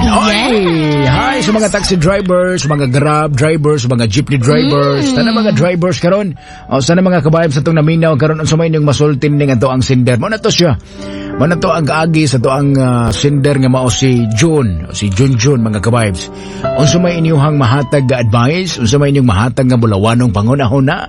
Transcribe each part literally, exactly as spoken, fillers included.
Oy! Yes. Hi sa mga taxi drivers, mga Grab drivers, mga jeepney drivers, mm. Tanang mga drivers karon. O sana mga kabayab sa itong naminaw karon unsa may inyong masultin ning ato ang sender. Mao na to siya. Mao na to ang kaagi sa to ang uh, sender nga mao si June, si June June mga kabibes. Unsa may inyong mahatag nga advice, unsa may inyong mahatag nga bulawanong panghuna-huna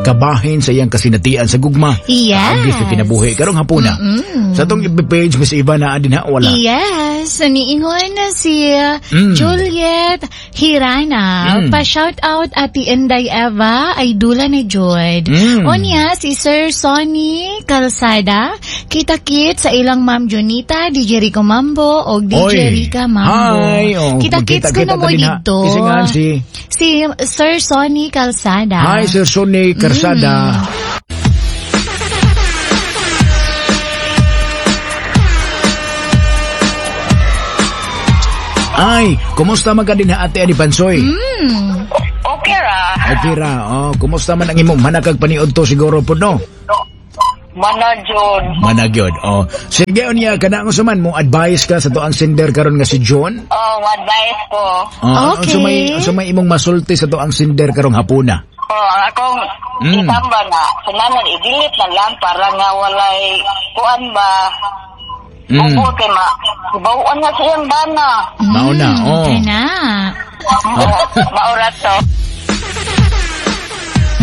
kabahin sa iyang kasinatian sa gugma. Yes. Kaagi sa kinabuhi karong hapuna. Mm-mm. Sa atong F B page Miss Eva naa din ha wala. Yes, niingon na si Mm. Juliet Hirana. Mm. Pa-shout out Ate Inday Eva ay dula ni Jod. Mm. Onya si Sir Sonny Calzada, kita-kit sa ilang Ma'am Junita, D J Rico Mambo o D J Oy. Rica Mambo. Hi. Oh, Kita-kits ko na magkita-kita mo din ha. dito. Kasi nga si Si Sir Sonny Calzada. Hi Sir Sonny Calzada. Mm. Ay, kumusta man ka din ha Ate Ani Pansoy? Mm. Okay ra. Okay ra. Oh, kumusta man ang imong manakag paniud to siguro po no? Managyod. Managyod. Oh. Sige unya kana ang man mo advice ka sa to ang sender karon nga si John? Oh, advice ko. Oh, Okay. Unsa may unsa may imong masulti sa to ang sender karong hapuna? Oh, ang akong Mm. itamba na sunanan i-delete na lang para nga walay kuan ba. Mm. Ubo kay ma. Bawon na siyang bana. Mao na, oh. Kaya na. Oh, maura to.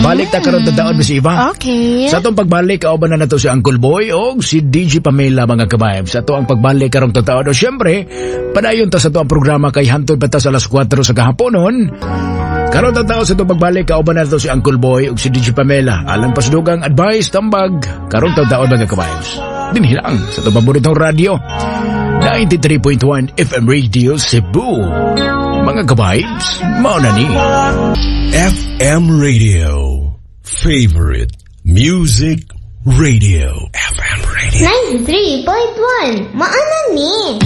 Balik ta karon tadaon Miss Eva. Okay. Sa atong pagbalik, kauban na nato si Uncle Boy o si D J Pamela mga kabayab. Sa ato ang pagbalik karong tataon. O siyempre, padayon ta sa ato ang programa kay hantod pa ta sa alas kwatro sa kahaponon. Karon tataon sa atong pagbalik, kauban na nato si Uncle Boy o si D J Pamela. Alang pasdugang advice, tambag, karong tataon mga kabayab. Dinhi lang sa atong paboritong radyo, ninety-three point one F M Radio Cebu. Mga kabibes, mao na ni. F M Radio. Favorite Music Radio. F M Radio. ninety-three point one. Maana ni.